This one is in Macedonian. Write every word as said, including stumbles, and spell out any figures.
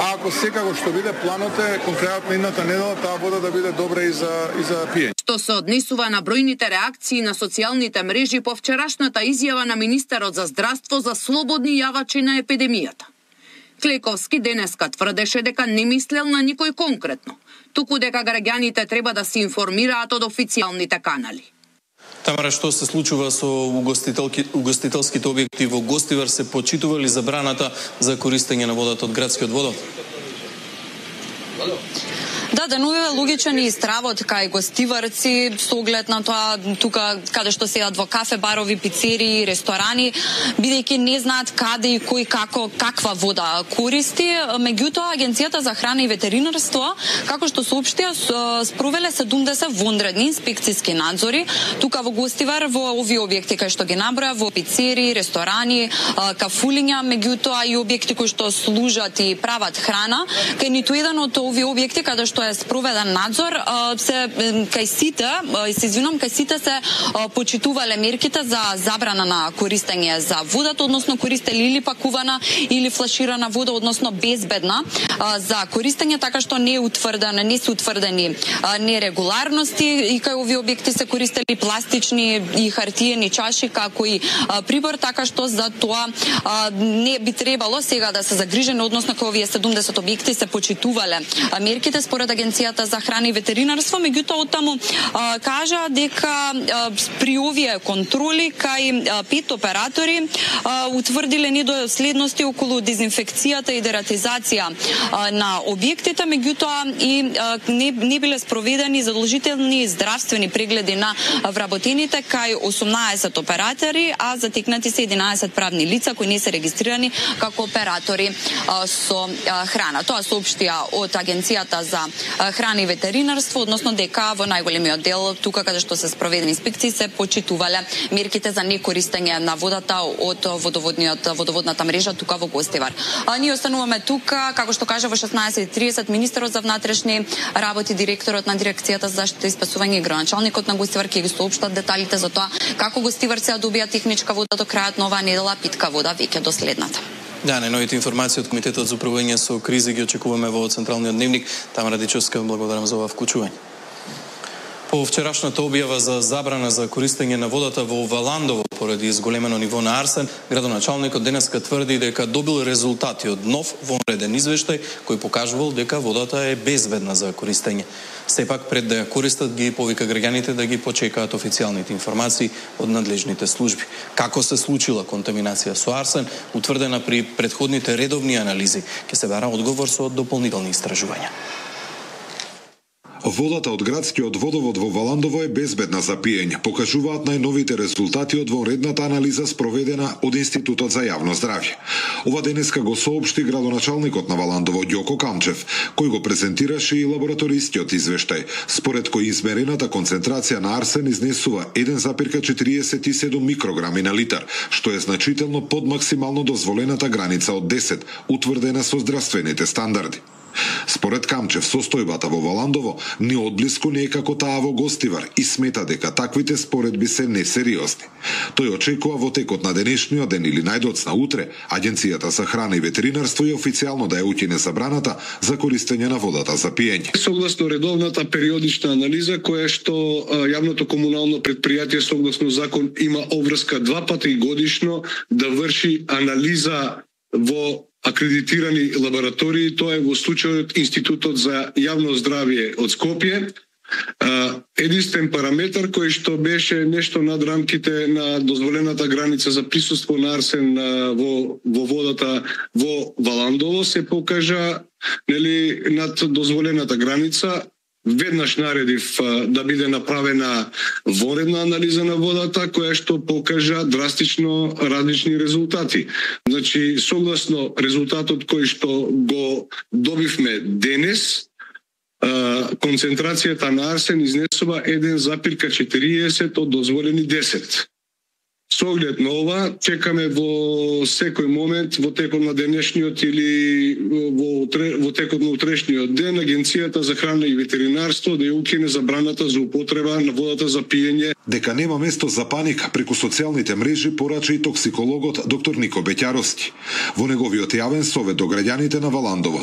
а ако секако што биде планот е конкретно едната недела таа вода да биде добра и за и за пиење. Што се однесува на бројните реакции на социјалните мрежи по вчерашната изјава на министерот за здравство за слободни јавачи на епидемијата. Клековски денеска тврдеше дека не мислел на никој конкретно, туку дека граѓаните треба да се информираат од официјалните канали. Тамара, што се случува со угостителските објекти во Гостивар? Се почитува ли забраната за користење на водата од градскиот водовод? Да, денуве логичен и стравот кај гостиварци со оглед на тоа тука каде што седат во кафе, барови, пицерии, ресторани, бидејќи не знаат каде и кој како каква вода користи. Меѓутоа агенцијата за храна и ветеринарство, како што соопштија, спровеле седумдесет вонредни инспекциски надзори тука во Гостивар во овие објекти кај што ги наброја, во пицерии, ресторани, кафулиња, меѓутоа и објекти кои што служат и прават храна. Кај ниту еден од овие објекти каде што е спроведен надзор, се кај сите, се извинувам, кај сите се почитувале мерките за забрана на користење за водата, односно користели или пакувана или флаширана вода, односно безбедна за користење, така што не е утврдена, не се утврдени нерегуларности и кај овие објекти се користели пластични и хартиени чаши како и прибор, така што за тоа не би требало сега да се загрижени, односно кај овие седумдесет објекти се почитувале мерките според агенцијата за храна и ветеринарство. Меѓутоа оттаму а, кажа дека а, при овие контроли кај а, пет оператори а, утврдиле недоследности околу дезинфекцијата и дератизација а, на објектите, меѓутоа и а, не, не биле спроведени задолжителни здравствени прегледи на вработените кај осумнаесет оператори, а затекнати се единаесет правни лица кои не се регистрирани како оператори а, со а, храна. Тоа соопштија од агенцијата за храна и ветеринарство, односно дека во најголемиот дел тука каде што се спроведени инспекции се почитувале мерките за некористење на водата од водоводниот водоводната мрежа тука во Гостивар. А ние остануваме тука, како што кажа во шеснаесет и тридесет министерот за внатрешни работи, директорот на дирекцијата за заштита и спасување и градоначалникот на Гостивар ќе ги соопштат деталите за тоа како гостиварци ја добија техничка вода до крајот на оваа недела, питка вода веќе до следната. Да, најновите информации од Комитетот за управување со кризи ги очекуваме во Централниот дневник. Тамара Дичевска, благодарам за ова вклучување. По вчерашната објава за забрана за користење на водата во Валандово поради изголемено ниво на арсен, градоначалникот денеска тврди дека добил резултати од нов вонреден извештај кој покажувал дека водата е безбедна за користење. Сепак пред да ја користат ги повика граѓаните да ги почекаат официјалните информации од надлежните служби. Како се случила контаминација со арсен, утврдена при претходните редовни анализи, ќе се бара одговор со дополнителни истражувања. Водата од градскиот водовод во Валандово е безбедна за пиење, покажуваат најновите резултати од вонредната анализа спроведена од Институтот за јавно здравје. Ова денеска го соопшти градоначалникот на Валандово Ѓоко Камчев, кој го презентираше и лабораторискиот извештај, според кој измерената концентрација на арсен изнесува еден запирка четириесет и седум микрограми на литар, што е значително под максимално дозволената граница од десет, утврдена со здравствените стандарди. Според Камчев, состојбата во Валандово ни одблиску не е како таа во Гостивар и смета дека таквите споредби се несериозни. Тој очекува во текот на денешниот ден или најдоцна утре Агенцијата за храна и ветеринарство и официјално да ја укине забраната за користење на водата за пиење. Согласно редовната периодична анализа која што јавното комунално предпријатие согласно закон има обврска два пати годишно да врши анализа во акредитирани лаборатории, тоа е во случајот Институтот за јавно здравје од Скопје, единствен параметар кој што беше нешто над рамките на дозволената граница за присуство на арсен во, во водата во Валандово се покажа нели над дозволената граница. Веднаш наредив да биде направена вонредна анализа на водата која што покажа драстично различни резултати. Значи, согласно резултатот кој што го добивме денес, концентрацијата на арсен изнесува еден запирка четириесет од дозволени десет. Со оглед на ова, чекаме во секој момент, во текот на денешниот или во, во текот на утрешниот ден, Агенцијата за храна и ветеринарство да ја укине забраната за употреба на водата за пиење. Дека нема место за паника преку социјалните мрежи порача и токсикологот доктор Нико Беќаровски. Во неговиот јавен совет до граѓаните на Валандово